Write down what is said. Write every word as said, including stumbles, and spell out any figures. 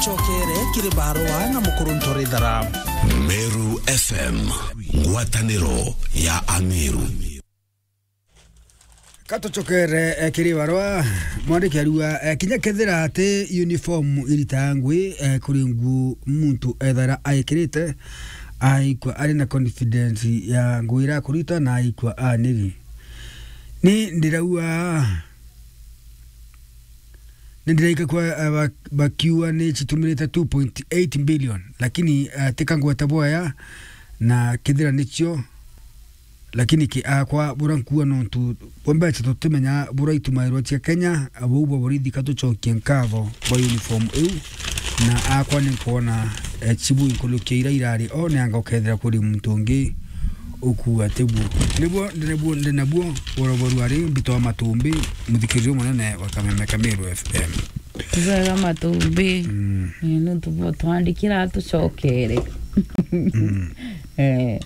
Chokere kiri barua na mukuru Ntorithara. Meru F M, ngwataniro ya Ameru. Katuchokere, eh, kiri barua, mwandiki arua, eh, kinya kethira ati uniform iritaga ngui, eh, kuri nguo muntu ethara aikirite, aikwa ari na confidence ya ngui irakurita na aikwa aniri. Ni ndiraua, ni ndiraika kwa, eh, ba-, bakiuga ni citumirite two point eight billion, lakini, eh, tika ngweta bwaya na kethira nicio, lakini ki akwa bura nkuua nontu bwa mbeca tutimenya bura itumairwa cia Kenya, bau bwa borithi katucokie nkatho bwa uniform iu, na akwa ni nkwona, eh, chibu inkurukia ira irari o ni anga ukethira kuri muntu ungi ukuua tibu. Nibuo, nibuo, ndi nabuo, bora boru ari mbito wa matumbi, muthikiririo munene wa Kameme Kameru F M. Bwega matumbi. Mm. Eh, ni tubo twandikira tucokere. Mm. Eh.